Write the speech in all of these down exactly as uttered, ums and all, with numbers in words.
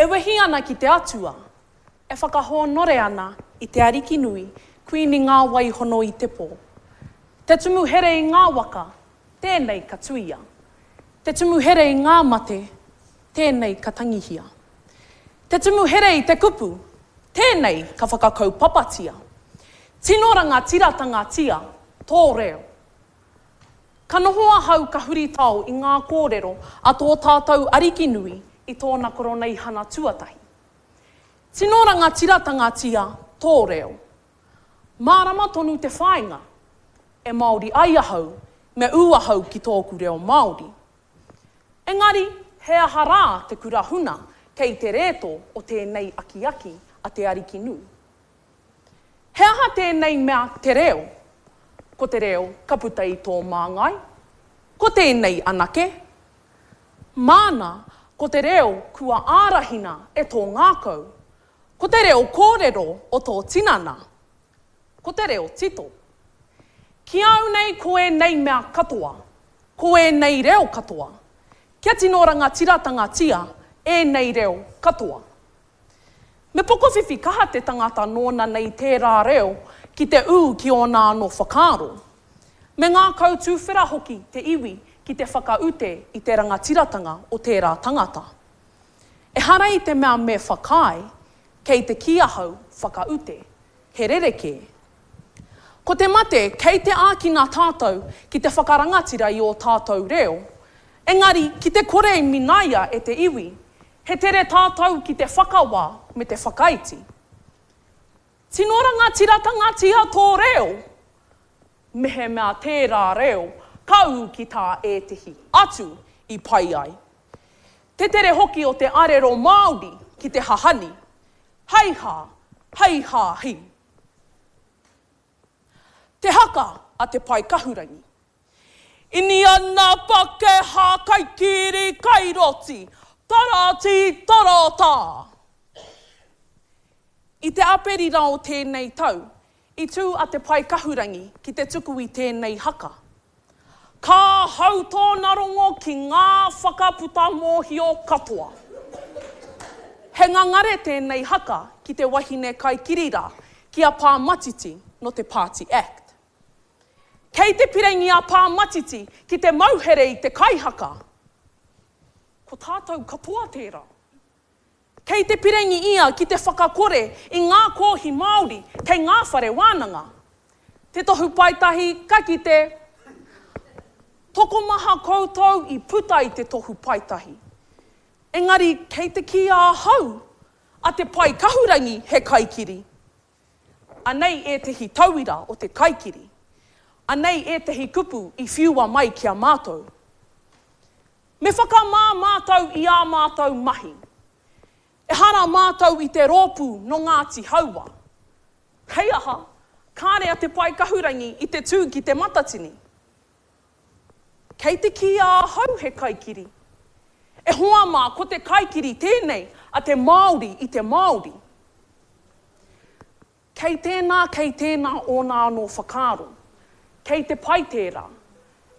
E wehi ana ki te Atua, e whakahōnore ana i te Ariki nui, Kuini ngā wai hono i te pō. Te tumu here i ngā waka, tēnei ka tuia. Te tumu here i ngā mate, tēnei ka tangihia. Te tumu here i te kupu, tēnei ka whakakaupapatia. Tino rangatiratanga-tia tō reo. Ka noho ahau ka huritao i ngā kōrero a tō tātou Ariki nui i tōna Koroneihana tuatahi. Tino rangatiratanga-tia tō reo. Mārama tonu te whāinga, e Māori ai ahau, me ū ahau ki tōku reo Māori. Engari, he aha rā te kura huna kei te rētō o tēnei akiaki a te Ariki nui? He aha tēnei mea te reo? Ko te reo ka puta i tō māngai? Ko tēnei anake? Māna, ko te reo kua ārahina e tō ngākau. Ko te reo kōrero o tō tinana. Ko te reo tito. Ki au nei ko ēnei mea katoa, ko ēnei reo katoa. Kia tino rangatiratanga-tia ēnei reo katoa. Me pokowhiwhi kaha te tangata nōna nei tērā reo ki te ū ki ōna anō whakaaro. Me ngākau tuwhera hoki te iwi ki te whakaute i te rangatiratanga o tērā tangata. Ehara i te mea me whakaae, kei te kī ahau whakaute, he rerekē. Ko te mate kei te ākina tātou ki te whakarangatira i ō tātou reo, engari ki te kore i minaia e te iwi, he tere tātou ki te whakawā me te whakaiti. Tino rangatiratanga-tia tō reo! Mehemea tērā reo ka ū ki tā ētehi atu i pai ai. Te tere hoki o te arero Māori ki te hahani, hei hā, hei hā hi. Te haka a Te Pae Kahurangi. Iniana Pakeha kaikiri kairoti, tarati tarata! I te Aperira o tēnei tau, i tū a Te Pae Kahurangi ki te tuku i tēnei haka. Ka hau tōna rongo ki ngā whakaputa mōhio katoa. He ngangare tēnei haka ki te wahine kaikiri rā, ki a Pā Matiti nō te Pāti Act. Kei te pirangi a Pā Matiti ki te mauhere i te kaihaka. Ko tātou katoa tērā. Kei te pirangi ia ki te whakakore i ngā kōhi Māori kei ngā whare wānanga. Te tohu paetahi ka kite. Tokomaha koutou i puta i te tohu paetahi. Engari kei te kī ahau a Te Pae Kahurangi he kaikiri. Anei ētehi tauira o te kaikiri. Anei ētehi kupu i whiua mai ki a mātou. Me whakamā mātou i ā mātou mahi. Ehara mātou i te rōpū nō Ngāti Haua. Hei aha, kāre a Te Pae Kahurangi i te tū ki Te Matatini. Kei te kīia ahau he kaikiri. E hoa mā, ko te kaikiri tēnei a te Māori i te Māori. Kei tēnā, kei tēnā ōna anō whakaaro. Kei te pai tērā.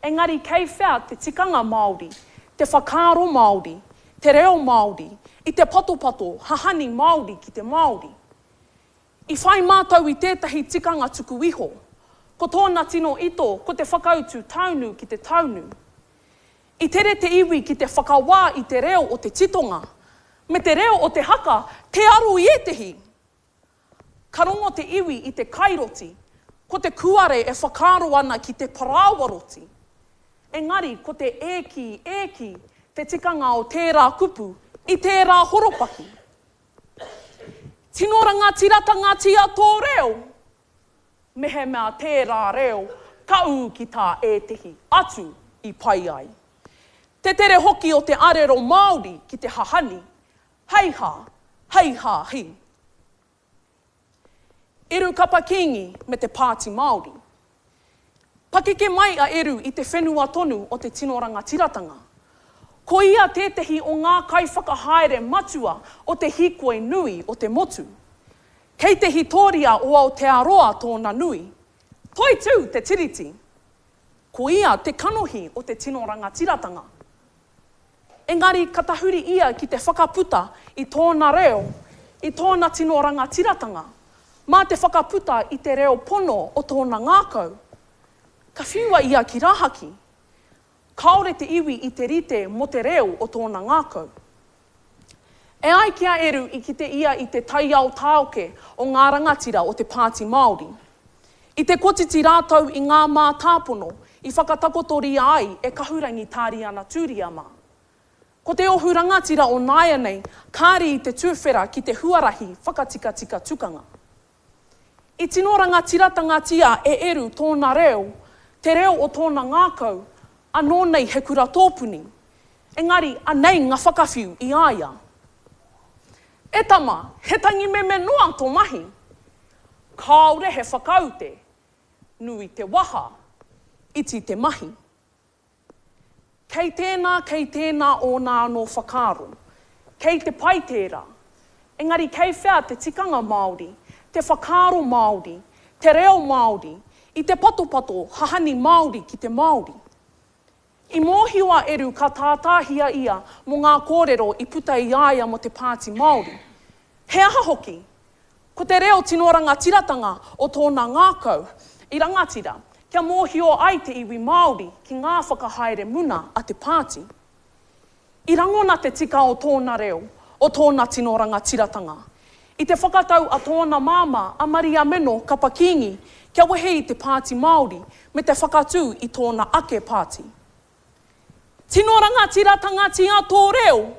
Engari kei whea te tikanga Māori, te whakaaro Māori, te reo Māori, i te patopato hahani Māori ki te Māori? I whai mātou i tētahi tikanga tuku iho. Ko tōna tino ito ko te whakautu taunu ki te taunu. I tere te iwi ki te whakawā i te reo o te titonga, me te reo o te haka tē aro i ētehi. Ka rongo te iwi i te kairoti, ko te kuare e whakaaro ana ki te parāoa roti. Engari ko te e kī, e kī, te tikanga o tērā kupu i tērā horopaki. Tino rangatiratanga-tia tō reo! Mehemea tērā reo ka ū ki tā ētehi atu i pai ai. Te tere hoki o te arero Māori ki te hahani, hei hā, hei hā hi. Eru Kapa Kīngi me te Pāti Māori. Pakeke mai a Eru i te whenua tonu o te tino rangatiratanga. Ko ia tētehi o ngā kaiwhakahaere matua o te hīkoi nui o te motu. Kei te hītoria o Aotearoa tōna nui. Toitū te Tiriti! Ko ia te kanohi o te tino rangatiratanga. Engari ka tahuri ia ki te whakaputa i tōna reo, i tōna tino rangatiratanga, mā te whakaputa i te reo pono o tōna ngākau. Ka whiua ia ki rahaki. Kāore te iwi i te rite mō te reo o tōna ngākau. E ai ki a Eru i kite ia i te taiao tāoke o ngā rangatira o te Pāti Māori. I te kotiti rātou i ngā mātāpono i whakatakotoria ai e Kahurangi Tāriana Tūria mā. Ko te ohu rangatira o nāianei kāre i te tuwhera ki te huarahi whakatikatika tukanga. I tino rangatiratangatia e Eru tōna reo, te reo o tōna ngākau, anō nei he kura tōpuni. Engari anei ngā whakawhiu i a ia. E tama, he tangi meme noa tō mahi. Kāore he whakaute, nui te waha, iti te mahi. Kei tēnā, kei tēnā ōna anō whakaaro. Kei te pai tērā. Engari kei whea te tikanga Māori, te whakaaro Māori, te reo Māori, i te patopato hahani Māori ki te Māori. I mōhio a Eru ka tātāhia ia mō ngā kōrero i puta i a ia mō te Pāti Māori. He aha hoki? Ko te reo tino rangatiratanga o tōna ngākau i rangatira, kia mōhio ai te iwi Māori ki ngā whakahaere muna a te pāti. I rangona te tika o tōna reo, o tōna tino rangatiratanga. I te whakatau a tōna māmā a Maria Meno Kapa Kīngi kia wehe i te Pāti Māori me te whakatū i tōna ake pāti. Tino rangatiratanga tō reo?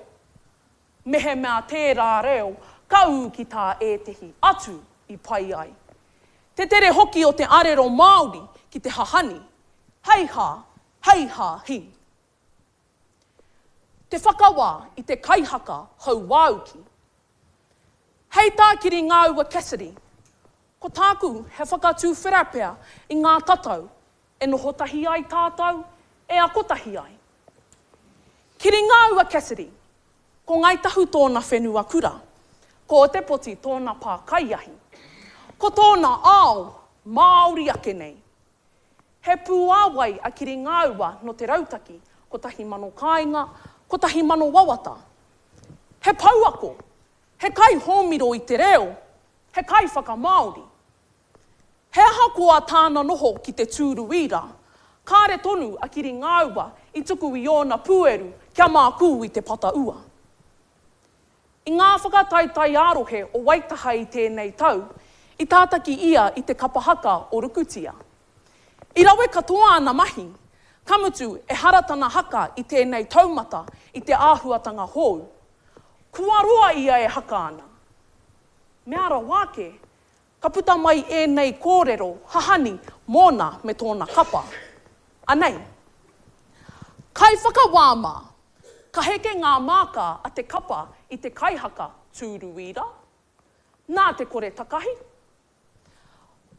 Mehemea tērā reo, ka ū ki tā ētehi atu i pai ai. Te tere hoki o te arero Māori ki te hahani. Hei hā, hei hā hi. Te whakawā i te kaihaka hauāuki. Hei tā Kiri Ngāua Cassidy, ko tāku he whakatūwhera pea i ngā tatau e noho tahi ai tātou, e ako tahi ai. Kiri Ngāua Cassidy, ko Ngāi Tahu tōna whenua kura, ko Ōtepoti tōna pā kaiahi, ko tōna ao Māori ake nei. He pūāwai a Kiri Ngāua no te rautaki, kotahi mano kāinga, kotahi mano wawata. He pouako, he kai hōmiro i te reo, he kai whakamāori. He aha koa tāna noho ki te tūru ira, kāre tonu a Kiri Ngāua i tuku i ōna pūeru kia mākū i te pata ua. I ngā whakataetae ā-rohe o Waitaha i tēnei tau, i tātaki ia i te kapa haka o Rukutia. I rawe katoa ana mahi, ka mutu ehara tana haka i tēnei taumata i te āhuatanga hou. Kua roa ia e haka ana. Mea rawa ake, ka puta mai ēnei kōrero hahani mōna me tōna kapa. Anei. Kai whakawā mā, ka heke ngā māka a te kapa i te kaihaka tūruira, nā te kore takahi,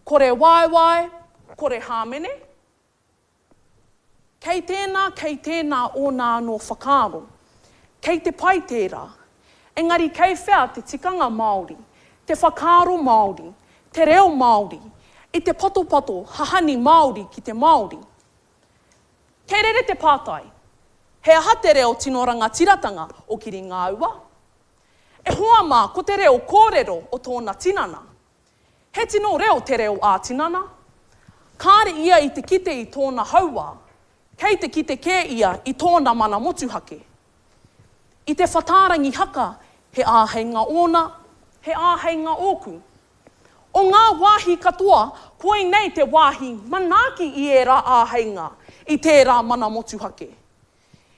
kore waewae, kore hāmene. Kei tēnā, kei tēnā ōna anō whakaaro. Kei te pai tērā. Engari kei whea te tikanga Māori, te whakaaro Māori, te reo Māori, i te patopato hahani Māori ki te Māori. Kei rere te pātai, he aha te reo tino rangatiratanga o Kiri Ngāua? E hoa mā ko te reo kōrero o tōna tinana. He tino reo te reo ā-tinana. Kāre ia i te kite i tōna hauā, kei te kite kē ia i tōna mana motuhake. I te whatārangi haka, he āheinga ōna, he āheinga ōku. O ngā wāhi katoa, koinei te wāhi manaaki i ērā āheinga, i tērā mana motuhake.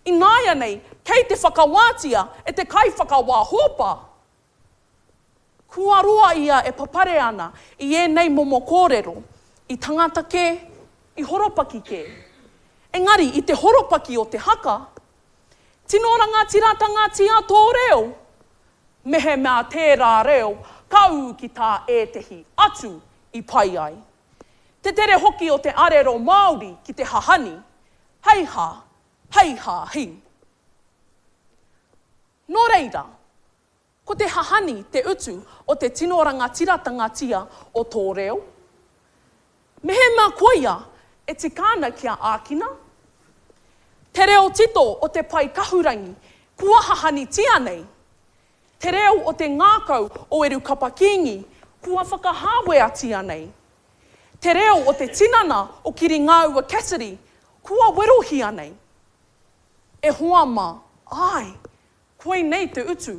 Ināianei, kei te whakawātia e te kaiwhakawā hōpa. Kua roa ia e papare ana i ēnei momo kōrero, i tangata kē, i horopaki kē. Engari, i te horopaki o te haka, tino rangatiratanga tō reo. Mehemea tērā reo, ka ū ki tā ētehi atu i pai ai. Te tere hoki o te arero Māori ki te hahani, hei hā, hei hā hi. Nō reira, ko te hahani te utu o te tino rangatiratanga o tō reo. Mehemea koia e tika ana kia ākina. Te reo tito o te pai kahurangi kua hahanitia nei. Te reo o te ngākau o Eru Kapa Kīngi, kua whakahāweatia nei. Te reo o te tinana o Kiringāua Cassidy, kua werohia nei. E hoa mā, āe, koinei te utu.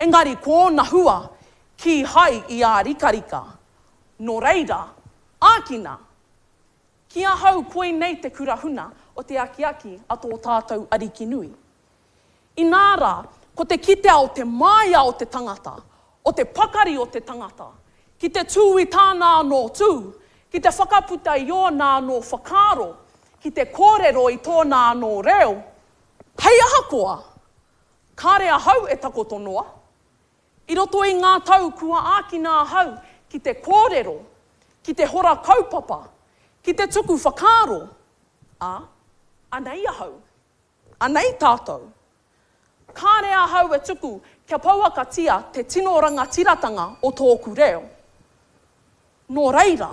Engari ko ōna hua, kīhai i ārikarika. Nō reira, ākina! Ki ahau koinei te kura huna o te akiaki a tō tātou Ariki nui. Inā rā, ko te kitea o te māia o te tangata, o te pakari o te tangata, ki te tū i tāna anō tū, ki te whakaputa i ōna anō whakaaro, ki te kōrero i tōna anō reo, hei aha koa, kāre ahau e takoto noa. I roto i ngā tau kua ākina ahau ki te kōrero, ki te hora kaupapa, ki te tuku whakaaro, ā, anei ahau, anei tātou. Kāre ahau e tuku kia pouakatia te tino rangatiratanga o tōku reo. Nō reira,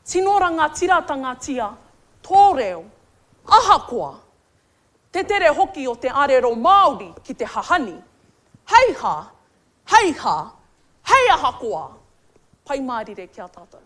tino rangatiratanga-tia tō reo, ahakoa, te tere hoki o te arero Māori ki te hahani, hei hā, hei hā, hei ahakoa! Pai mārire ki a tātou.